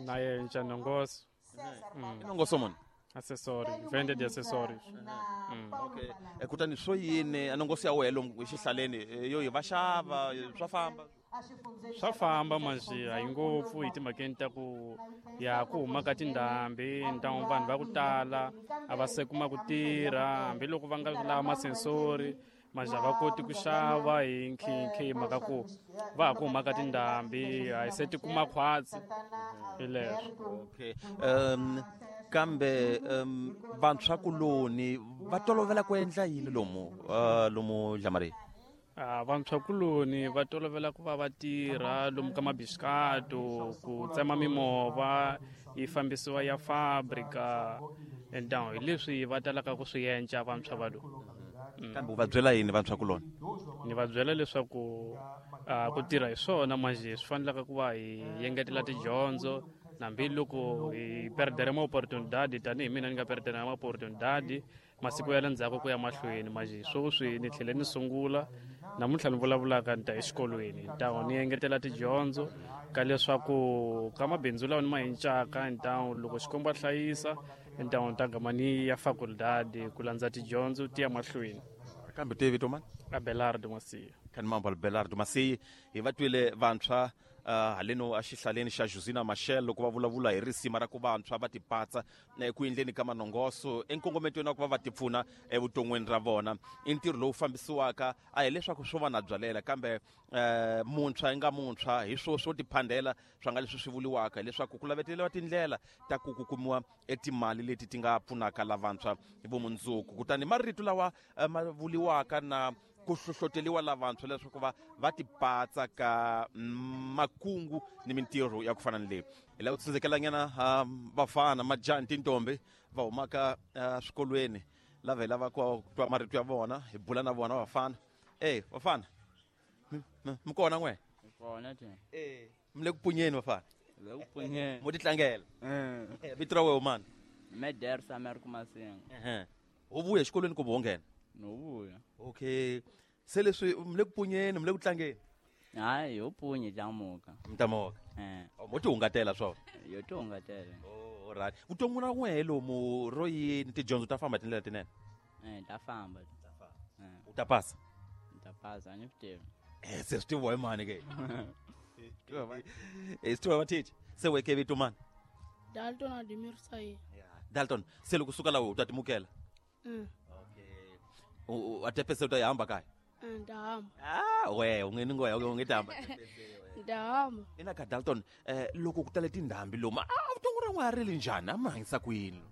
Na yenca nongoso. I nongoso muni? Acessório, venda de acessórios. Okay. Kutani swo yini a nongoso ya wehe lomu exihlaleni yo yi va xava swa famba? Swa famba manjhe a yi ngopfu hi timhakeni ta ku ya ku huma ka tindhambi ntamu vanhu va ku tala a va se kuma ku tirha hambiloko va nga lava masensori manjhe a va koti ku xava hi nkhinkhi hi mhaka ku va ha ku huma ka tindhambi a hi se ti kuma khwatsi hi leswo. Okay. Kambe vantshwakuloni va tolovela ku endla yini lomu Dlamari? Vantshwakuloni va tolovela ku va va tirha lomu ka mabisikato, ku tsema mimovha yi fambisiwa ya fabrika and down hi leswi va talaka ku swi endla vantshwa va lomu. Kambe u va byela yini vantshwakuloni? Ni va byela leswaku ku tirha hi swona manjhe swi fanelaka ku va hi engetela tidyondzo hambiloko hi perdere ma opportunidade tanihi mina ni nga perdere ma opportunidade masiku ya le ndzhaku ku ya mahlweni manjhe sweswi ni tlhele ni sungula namuntlha ni vulavulaka ni ta exikolweni ntawu ni engetela tidyondzo ka leswaku ka mabindzu lawa ni ma encaka ntawu loko Xikwembu a hlayisa ntawu ni ta gama ni ya facultad ku landza tidyondzo ti ya mahlweni. Kambe te vito mani? Abelardo Masiya. Khanimambo Abelardo Masiya. Hi va twile vantshwa haleno exihlaleni xa Josina Machel loko va vulavula hi risima ra ku vantshwa va tipatsa eku endleni ka manongoso enkongometweni wa ku va va tipfuna evuton'wini ra vona. I ntirho lowu fambisiwaka a hi leswaku swo va na byalela kambe muntshwa yi nga muntshwa hi swo swo tiphandela swa nga leswi swi vuriwaka hileswaku ku laveteriwa tindlela ta ku ku kumiwa etimali leti ti nga pfunaka lavantshwa hi vumundzuku. Kutani marito lawa ma vuriwaka na ku hlohloteliwa lavantshwa leswaku va va tipatsa ka makungu ni mintirho ya ku fana ni leyi. Hi lava ku tsundzukelanyana vafana majaha ni tintombi va humaka swikolweni lava hi lava ku twa marito ya vona hi bula na vona vafana. Vafana mi kona n'we? Kona te. Mi le ku punyeni vafana? Le ku punyeni. Mo titlangela? Vito ra wena mani? Meder Samer Kumasinga. U vuya exikolweni kumbe wo nghena? No vuya. Okay. Se leswi mi le ku punyeni, mi le ku tlangeni? Hayi, ho punye tlamuka. Mi tlamuka. Mo tihungatela swona? Yo tihungatela. Oh, alright. Vutomi ra n'wehe lomu ro yini tidyondzo ta famba tindlela tinene? Ta famba. U ta pasa? Ta pasa, a ni swi tivi. Se swi tiviwa hi mani ke? Swi tiviwa va teacher. Se weke vito mani? Dalton Ademir Saye. Dalton, se loko suka laha u ta timukela? Okay. U a tepese u ta yi hamba kaya? Ta hamba. We, u nge ni ngoya, u nge ta hamba. Ta hamba. Ina ka Dalton, loko ku tale tindhambi lomu, vuton'wi ra n'wana ri le njhani? A mi hanyisa ku yini?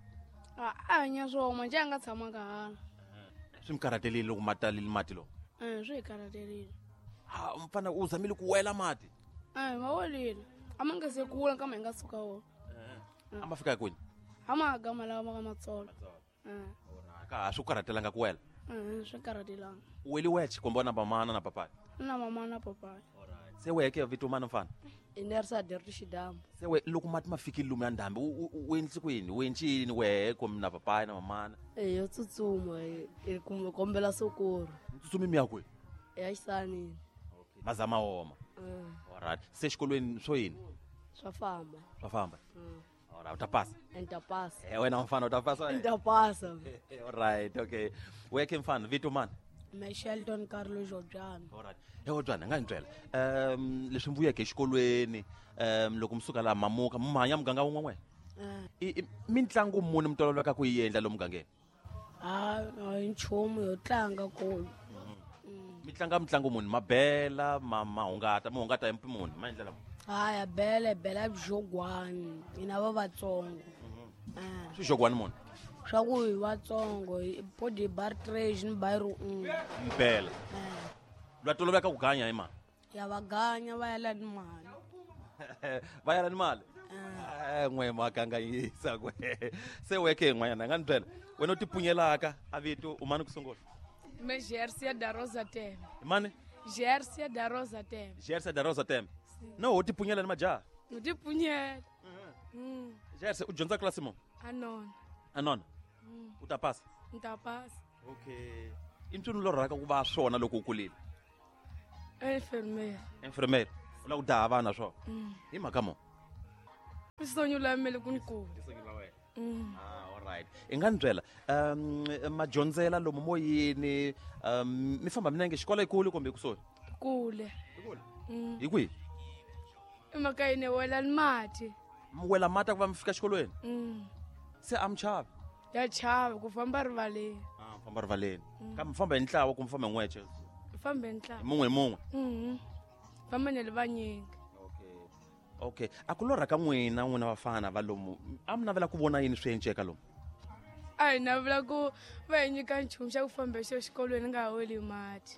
A hanya swona, manjhe a nga tshamanga hala. Swi mi karhatelile loko ma talile mati lowu? Swi hi karhatelile. Ha, mfana u zamile ku wela mati? Ma welile. A ma nga se kula kambe hi nga suka wona. A ma fika kwini? A ma gama lawa ma ka Matsolo. Ka ha swi ku karhatelanga ku wela? Swi karhatelanga. U weli wexe kumbe na mamana na papayi? Na mama na papayi. Se weke vito mani mfana? I Nersa Dirty Xidamu. Se we loko mati ma fikile lomu ya ndhambi u endlise ku yini? U endli yini wehe kumbe na papayi na mamana? Yo tsutsuma hi kumbe kombela sokoro. Tsutsumi mi ya kwihi? Ya xisanini. Okay. Mazama woma. Alright. Se xikolweni swo yini? Swa famba. Swa famba. Alright, u ta pasa. Ni ta pasa. Wena mfana u ta pasa? Ni ta pasa. Alright, okay. Weke mfana, vito mani? Me Shelton Carlos Jobyana. Alright. Jobyana, nga ni byela. Leswi mi vuyeke exikolweni, loko mi suka laha mamuka, mi hanya muganga wun'we n'we? I mitlangu muni mi tolovelaka ku yi endla lomu mugangeni? Ha, hi nchumu yo tlanga kulu. Mi tlanga mitlangu muni? Mabela, mahungata, mi hungata hi muni? Ma endlela muni? Haya, bela, bela xogwani. Hina va Vatsongo. Swi xogwani muni? Swa ku hi Vatsongo, hi body bar trash ni bayiro un'we. Bela. Lwa toloveka ku ganya hi mani? Ya va ganya va yala ni mali. Va yala ni mali? N'we ma kanganyisa kwe. Se weke n'wanyana nga ni byela. Wena u tipunyelaka a vito u mani ku sungula? Me Gersia da Rosa Tembe. Mani? Gersia da Rosa Tembe. Gersia da Rosa Tembe. No, u tipunyela ni majaha? U tipunyela. Gersia, u dyondza klasi muni? Anona. Anona? U ta pasa? Ni ta pasa. Okay. I ntswini lo rhaka ku va swona loko u kulile? Enfermeira. Enfermeira. U lava ku daha vana swona? Hi mhaka mo? Sonyula mele ku nkulu. Ah, all right. I nga ni byela madyondzela lomu moyeni, mi famba minenge xikolo ikulu kumbe kusuhi? Kule. Hi kwihi? Emakayeni wela ni mati. Mi wela mati ku va mi fika xikolweni? Se a mi chavi? Ya chava ku famba rivaleni. Ah, famba rivaleni. Kambe mi famba hi ntlawa kumbe famba hi n'wexe? Famba hi ntlawa. Hi mun'we hi mun'we? Famba ni le vanyingi. Okay. A ku lorha ka n'wina, n'wina vafana va lomu, a mi navela ku vona yini swi enceka lomu? A hi navela ku va hi nyika nchumu xa ku famba hi xo xikolweni nga ha weli mati.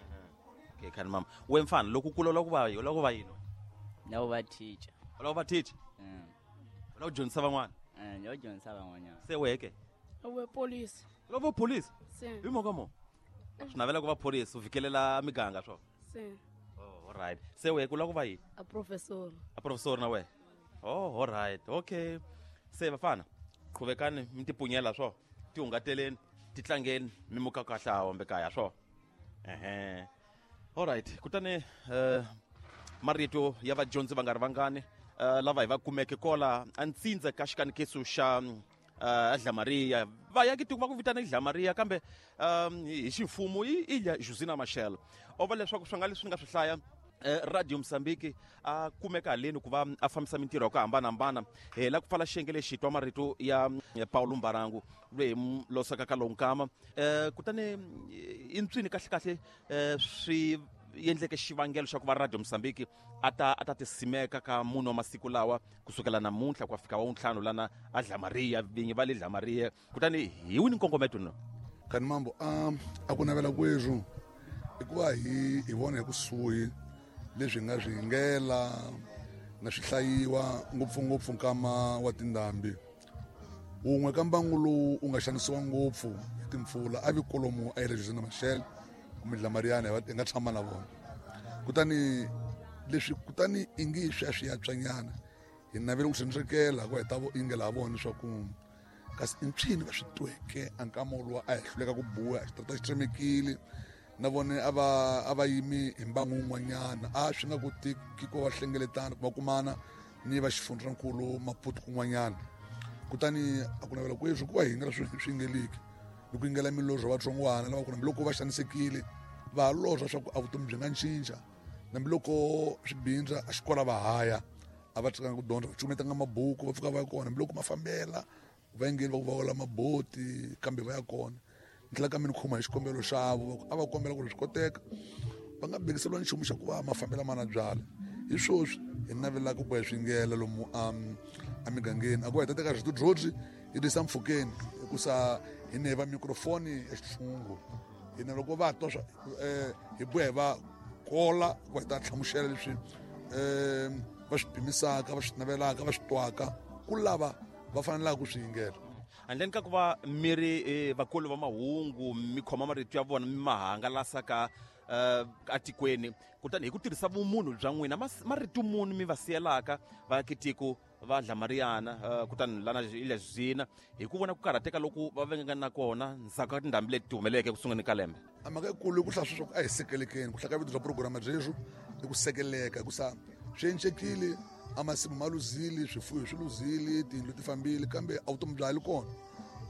Okay, khani mama. We mfana, loko u kula u lava ku va u lava ku va yini? Lava ku va teacher. U lava ku va teacher? U lava ku dyondzisa van'wana? Ni lava ku dyondzisa van'wanyana. Se wehe ke? We police. U lava ku va police? Se. Hi mhaka mo? Swi navela ku va police, u fikelela miganga swo? Se. Oh, all right. Se wehe ku lava ku va yini? A professor. A professor na wehe? Oh, all right. Okay. Se vafana, qhuvekani mi tipunyela swo. Tihungateleni, titlangeni, mi muka kahle a hombe kaya swo. Ehe. All right. Kutani marito ya vadyondzi va nga ri vangani lava hi va kumeke kola a ntsindza ka xikanekiso xa Dlamaria. Va ya tiko va ku vitana Dlamaria kambe hi ximfumo i Ilha Josina Machel. O va leswaku swi nga leswi ni nga swi hlaya Radio Mozambique a kumeka haleni ku va a fambisa mintirho ya ku hambanahambana. Hi la ku pfala xiyenge lexi twa marito ya Paulo Mbarangu loyi hi losaka ka lowu nkama. Kutani i ntswini kahle kahle swi endleke xivangelo xa ku va Radio Mozambique a ta tisimeka ka munhu wa masiku lawa kusukela namuntlha ku fika wa ntlhanu lana a Dlamaria, vinyi va le Dlamaria. Kutani hi wini nkongometo no? Kani mambo, a ku navela kwethu i ku va hi vona hi kusuhi leswi hi nga swi yingela na swi hlayiwa ngopfungopfu nkama wa tindhambi. Wun'we ka mbangu lowu wu nga xanisiwa ngopfu hi timpfula a vi kolomu a Ilha Josina Machel kumbe Dlamariana hi nga tshama na vona. Kutani leswi kutani ingi swi ya swi ya tswanyana hi navela ku swi ku hi ta yingela ha vona leswaku kasi i mpyini va swi tweke a nkama woluwa a hi hluleka ku buya xitarata xi tsemekile na vona a va yimi hi mbangu wun'wanyana a swi nga koteki ku va hlengeletana ku va kumana ni va xifundzankulu Maputo kun'wanyana. Kutani a ku navela kweswi ku va hi yingela swi yingeliki ni ku yingela milorho vatsongwana lava ku hambiloko va xanisekile va ha lorha swa ku a vutomi byi nga cinca hambiloko swi bindza a xikola va haya a va tshikanga ku dyondza va cukumetanga mabuku va pfuka va ya kona hambiloko ma fambela va yingeli va ku va wela maboti kambe va ya kona. Ni tlhela kambe ni khoma hi xikombelo xavo a va kombela ku ri swi koteka va nga bekiseriwa nchumu xa ku va mafambela mana byala. Hi swoswi hi navelaka ku hi swi yingela lomu emigangeni a ku va hi ta teka rito hi tisa mpfhukeni hikusa hi ne va microphone ya xitshungu hi na loko va twa swa hi buya hi va kola ku hi ta hlamusela leswi va swi pimisaka va swi navelaka va swi twaka ku lava va fanelaka ku swi yingela. Handleni ka ku va mi ri vakulu va mahungu mi khoma marito ya vona mi ma hangalasa ka atikweni, kutani hi ku tirhisa vumunhu bya n'wina marito muni mi va siyelaka vaakitiko va Dlamariana kutani lana Ilha Josina hi ku vona ku karhateka loku va vengaka na kona ndzhaku ka tindhambi leti ti humeleleke ku sunguleni ka lembe? A mhaka yikulu i ku hlaya sweswo a hi sekelekeni ku hlaya ka vito bya program byeswo i ku sekeleka hikusa swi encekile a masimu ma luzile swifuwo swi luzile tiyindlu ti fambile kambe a vutomi bya ha li kona.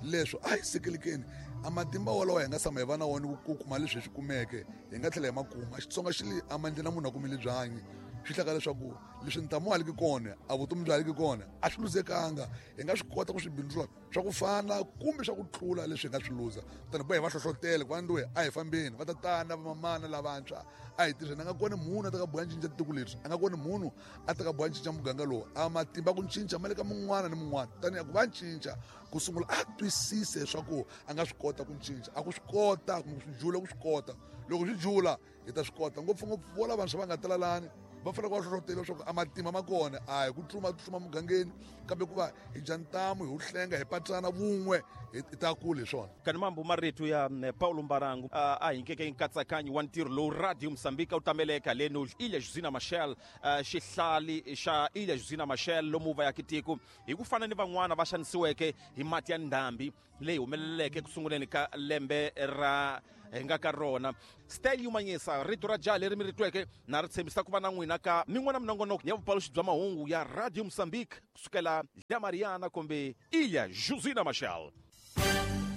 Leswo a hi sekelekeni a matimba walawo hi nga tshama hi va na wona ku kuma leswi hi swi kumeke hi nga tlhela hi ma kuma. Xitsonga xi le a mandleni na munhu a kumile byanyi swi hlaka leswaku leswi ntamu wa haliki kona a vutomi bya haliki kona a swi luzekanga hi nga swi kota ku swi bindzula swa ku fana kumbe swa ku tlula leswi hi nga swi luza. Kutani boha hi va hlohlotela ku va nduwe a hi fambeni va tatana va mamana lavantshwa a hi tirheni. A nga koni munhu a ta ka boha cinca tiko leri, a nga koni munhu a ta ka boha cinca muganga lowu, a matimba ku cinca ma le ka mun'wana ni mun'wana. Kutani a ku va cinca ku sungula a twisise leswaku a nga swi kota ku cinca, a ku swi kota kumbe ku swi jula ku swi kota. Loko swi jula hi ta swi kota ngopfungopfu vo lavantshwa va nga talalani va fanele ku va hlohlotela leswaku a matimba ma kona a hi ku tluma mugangeni kambe ku va hi dya ntamu hi wu hlenga hi patsana vun'we hi ta kula hi swona. Kani mambo marito ya Paulo Mbarangu a hi nkeke nkatsakanyo wa ntirho lowu Radio Mozambique wu tameleke haleni Ilha Josina Machel, xihlali xa Ilha Josina Machel lomu va yaka tiko hi ku fana ni van'wana va xanisiweke hi mati ya ndhambi leyi humeleleke ku sunguleni ka lembe ra hi nga ka rona. Style Yumanyisa, rito ra jaha leri mi ri tweke, na ri tshembisa ku va na n'wina ka min'wana minongonoko ya vupaluxi bya mahungu ya Radio Mozambique kusukela ya Mariana kumbe Ilha Josina Machel.